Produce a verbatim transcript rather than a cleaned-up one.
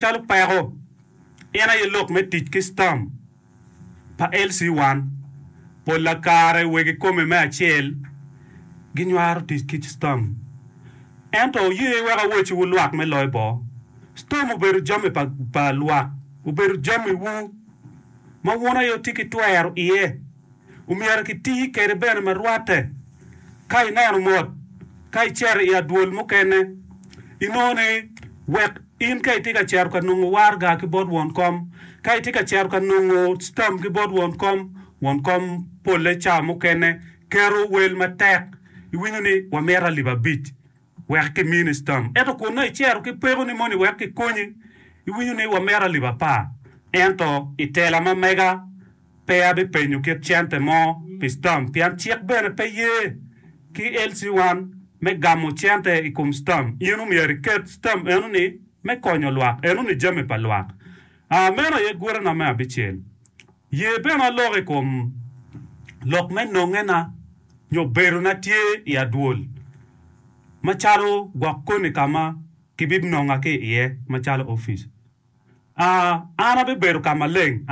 Calo peko, en aye lok me tic ki stamp pa L C one. Pola kare wegi kome me acel ginywaro tic ki stamp. Ento oye wek awecciwu lwak me loyo bo. Stamp obedo jami pa, pa lwak, obedo jamiwu ma wun aye wutye ki twero iye. Omyero kiti kwede bene ma rwatte. Ka ineno mot, ka icito i adwol mukene, inongo ni wek in ka itye ka cito ka nongo waraga ki bot won kom, ka itye ka cito ka nongo stamp ki bot won kom, won kom polle cawa mukene keto wel matek, iwinyo ni wamito alip abic wek kimini stamp. Ento kun nongo icito ki pekoni moni wek kikonyi, iwinyo ni wamito alip apar. Ento i tela ma mega pe abipenyo kit cente mo pi stamp, pien cik bene pe ye ki L C one me gamo cente i kom stamp. In omyero iket stamp enoni me konyo lwak, enoni jami pa lwak. Uh, meno aye gurena me abicel. Ye bene alok i kom lok me nongena nyo bedona tye i adwol macalo gwok koni ka ma kibinonga ki iye macalo opic. Uh, an abibedo ka maleng.